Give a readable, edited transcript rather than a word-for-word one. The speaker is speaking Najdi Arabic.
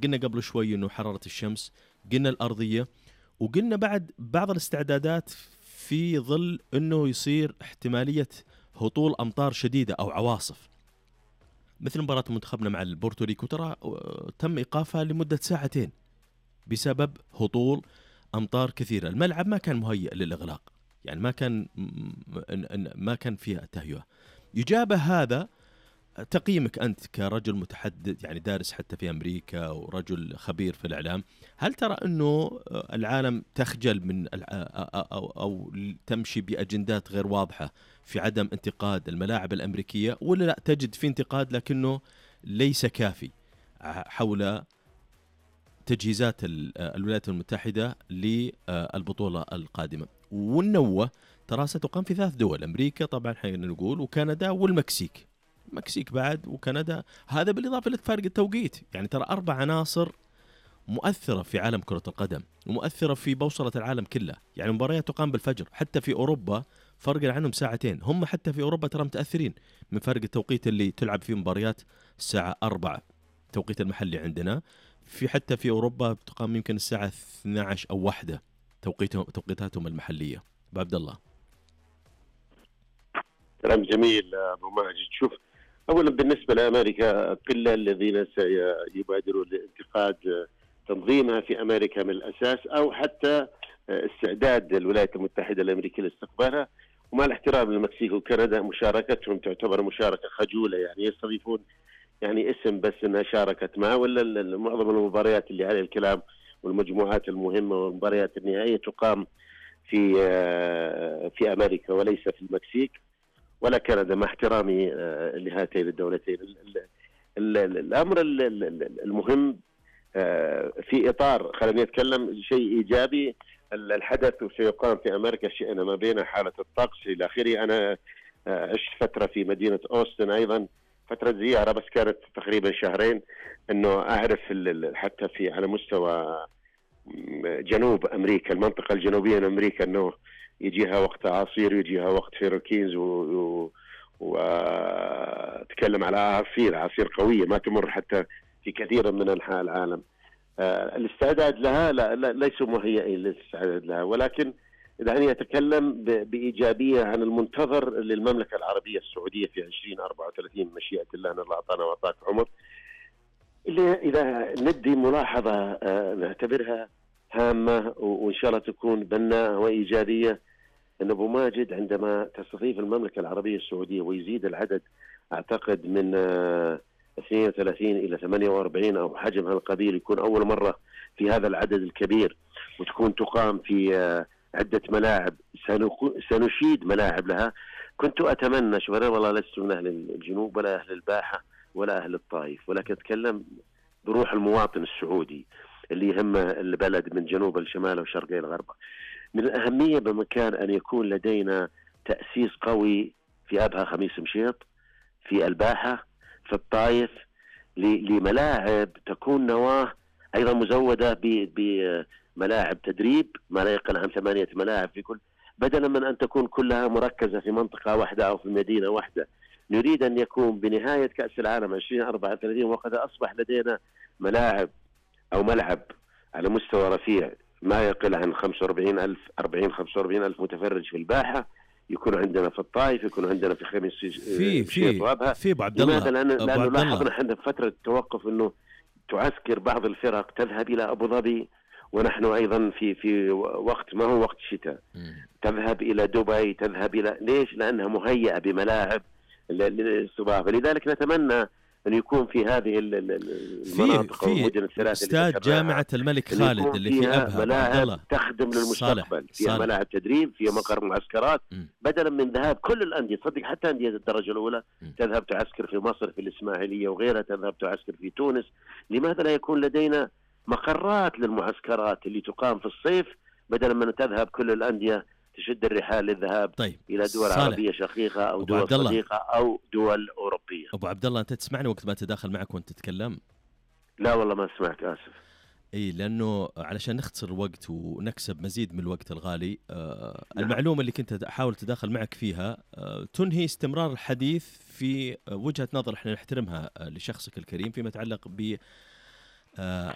قلنا قبل شوي إنه حرارة الشمس، قلنا الأرضية، وقلنا بعد بعض الاستعدادات في ظل إنه يصير احتمالية هطول أمطار شديدة أو عواصف، مثل مباراة منتخبنا مع البورتوريكو ترى تم إيقافها لمدة 2 ساعة بسبب هطول أمطار كثيرة. الملعب ما كان مهيئ للإغلاق، يعني ما كان فيها تهيئة. يجابه هذا تقييمك أنت كرجل متحدث، يعني دارس حتى في أمريكا ورجل خبير في الإعلام، هل ترى أنه العالم تخجل من أو تمشي بأجندات غير واضحة في عدم انتقاد الملاعب الأمريكية، ولا لا تجد في انتقاد لكنه ليس كافي حول تجهيزات الولايات المتحدة للبطولة القادمة؟ والنوة ترى ستقام في 3 دول، أمريكا طبعا حين نقول، وكندا والمكسيك. المكسيك بعد وكندا، هذا بالإضافة لفرق التوقيت. يعني ترى 4 عناصر مؤثرة في عالم كرة القدم ومؤثرة في بوصلة العالم كله. يعني مباريات تقام بالفجر، حتى في أوروبا فرق عنهم 2 ساعتين، هم حتى في أوروبا ترى متأثرين من فرق التوقيت اللي تلعب فيه مباريات الساعة 4 توقيت المحلي عندنا، حتى في أوروبا تقام يمكن الساعة 12 أو 1 توقيتاتهم المحلية. عبد الله. كلام جميل أبو ماجد. شوف، أولا بالنسبة لأمريكا قلة الذين سيبادرون لانتقاد تنظيمها في أمريكا من الأساس، أو حتى استعداد الولايات المتحدة الأمريكية لاستقبالها. ومع الاحترام للمكسيك وكندا، مشاركتهم تعتبر مشاركة خجولة، يعني يستضيفون يعني اسم بس أنها شاركت معه، ولا معظم المباريات اللي عليه الكلام والمجموعات المهمة والمباريات النهائية تقام في أمريكا وليس في المكسيك ولا كندا، مع احترامي لهاتين الدولتين. الأمر المهم في إطار، خلينا نتكلم شيء إيجابي، الحدث سيقام في أمريكا شئنا ما بين حالة الطقس إلى آخره. أنا عشت فترة في مدينة أوستن أيضا، فترة زيارة بس كانت تقريبا 2 شهرين، أنه أعرف حتى في على مستوى جنوب أمريكا، المنطقة الجنوبية من أمريكا، أنه يجيها وقت عصير ويجيها وقت هيروكينز وتكلم على عصير قوية ما تمر حتى في كثير من أنحاء العالم. الاستعداد لها لا ليسوا مهيئين للاستعداد لها، ولكن دعني يتكلم بإيجابية عن المنتظر للمملكة العربية السعودية في 2034 مشيئة الله، أن الله أعطانا وأعطاك عمر. اللي إذا ندي ملاحظة نعتبرها هامة وإن شاء الله تكون بناءة وإيجابية، أن أبو ماجد عندما تستضيف المملكة العربية السعودية ويزيد العدد أعتقد من 32 إلى 48 أو حجمها القبيل، يكون أول مرة في هذا العدد الكبير، وتكون تقام في عدة ملاعب، سنشيد ملاعب لها. كنت أتمنى، شوف أنا والله لست من أهل الجنوب ولا أهل الباحة ولا أهل الطائف، ولكن أتكلم بروح المواطن السعودي اللي يهم البلد من جنوب الشمال وشرق الغرب. من الأهمية بمكان أن يكون لدينا تأسيس قوي في أبها خميس مشيط، في الباحة، في الطائف، لملاعب تكون نواة أيضا مزودة بملاعب تدريب ما لا يقل عن 8 ملاعب في كل، بدلا من أن تكون كلها مركزة في منطقة واحدة أو في مدينة واحدة. نريد أن يكون بنهاية كأس العالم 2034 وقد أصبح لدينا ملاعب أو ملعب على مستوى رفيع ما يقل عن 45 ألف متفرج في الباحة، يكون عندنا في الطائف، يكون عندنا في خميس في أبو عبد الله. لماذا؟ لأنه لاحظنا احنا في فترة التوقف أنه تعسكر بعض الفرق تذهب إلى أبو ظبي، ونحن أيضا في وقت ما هو وقت شتاء، تذهب إلى دبي، تذهب إلى ليش؟ لأنها مهيئة بملاعب للاستضافة. لذلك نتمنى أن يكون في هذه المناطق والمدن الثلاثة استاد جامعة الملك خالد اللي في أبها ملاعب تخدم للمستقبل، فيها ملاعب تدريب، فيها مقر معسكرات، بدلا من ذهاب كل الأندية، صدق حتى أندية الدرجة الأولى تذهب تعسكر في مصر في الإسماعيلية وغيرها، تذهب تعسكر في تونس. لماذا لا يكون لدينا مقرات للمعسكرات اللي تقام في الصيف، بدلا من تذهب كل الأندية تشد الرحال للذهاب إلى دول عربية شقيقة أو دول صديقة أو دول أوروبية. أبو عبد الله، أنت تسمعني وقت ما تداخل معك وأنت تتكلم؟ لا والله ما سمعت، آسف. لأنه علشان نختصر الوقت ونكسب مزيد من الوقت الغالي، المعلومة اللي كنت أحاول تداخل معك فيها تنهي استمرار الحديث في وجهة نظر احنا نحترمها لشخصك الكريم فيما يتعلق ب